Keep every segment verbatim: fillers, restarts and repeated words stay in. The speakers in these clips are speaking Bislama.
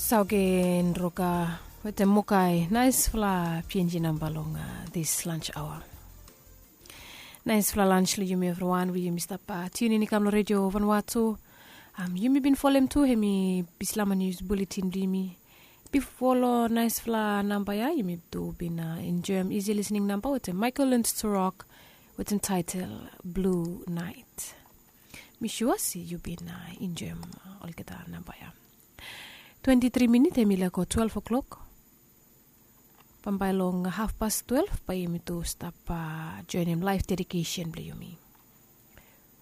Saugen roka wetem mokai naispela pienji namba long dis lunch hour. Naispela lunch long yumi evriwan we yumi stap tiunin i kam long redio vanwatu. Yumi bin folem tu hemi bislama nius buletin blong yumi. Bifo long naispela namba ya yumi tu bin enjoim isi lisning namba wetem Michael Lund Turok wetem taitel Blue Night. Mi sua se yu bin enjoim olgeta namba ya. Twenti tri minit em i laik go twelve o'clock. Bambae long hafpas twelve bae yumi tu stap joinim laif dedikesen blong yumi.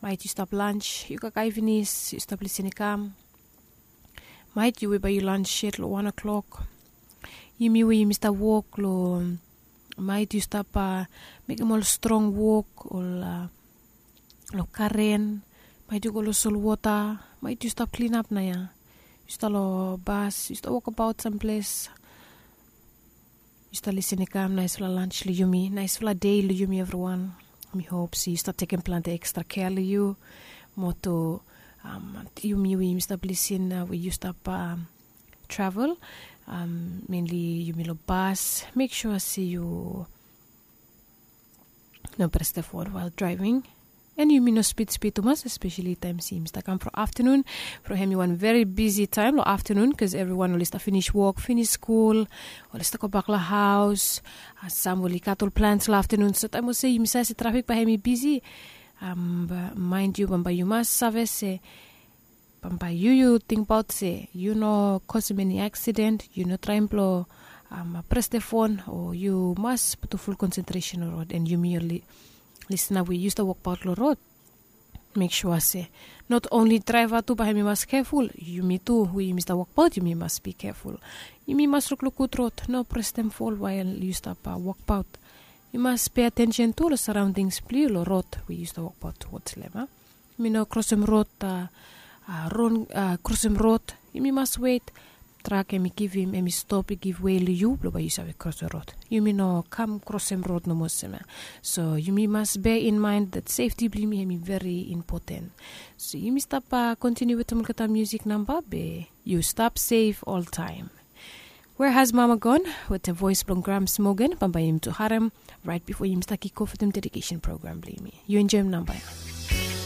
Mait yu stap lans, yu kaikai pinis, yu stap lisin i kam. Mait yu we bae yu lans yet long wan o'clock. Yumi we yumi stap wok long mait yu stap mekim ol strong wok ol long karen. Mait yu go long solwota, mait yu stap klinap na ya. Yu stap long bas, yu stap wokabaot samples. Yu stap lisin i kam naispela lans long yumi, naispela dei long yumi evriwan. Mi hop se yu stap tekim planti ekstra kea long yu. Moto yumi we yumi stap lisin we yu stap travel, menli yumi long bas, mek sua se yu no pres the phone while driving. En yumi no spid spid tumas, especially taim se yumi stap kam from afternoon. From hem i wan very busy taim long afternoon bikos everyone oli stap finis wok, finis skul, oli stap go bak long haus. Sam oli gat ol plans long afternoon, so taim olsem yumi save se trafik bae hem i busy. Mind yu, bambae yu mas save se bambae yu yu tingbaot se yu no kosim eni aksiden, yu no traim blong pres the phone, o yu mas putum ful konsentresen long rod. En yumi oli lisna we yu stap wokbaot long rod, mek sua se not onli draeva tu bae hem i mas keful, yumi tu we yumi stap wokbaot yumi mas bi keful. Yumi mas lukluk gud rod, no prestem fol wael yu stap wokbaot. Yu mas pe atensen tu long saraondings blong yu long rod we yu stap wokbaot tuwots long hem. Yumi no krosim rod, ron krosim rod. Yumi mas wet. Trak hem i givim, hem i stop, i givwe long yu blong bae yu save krosim rod. Yumi no kam krosim rod nomo olsem ya. So yumi mas bea in main dat sefti blong yumi hem i veri impoten. So yumi stap kontiniu wetem olgeta musik namba be yu stap sef oltaim. Where has mama gone? Wetem voes blong Grams Morgan, bambae yumi tu harem rait bifo yumi stap kikof wetem dedikesen program blong yumi. Yu enjoim namba ya.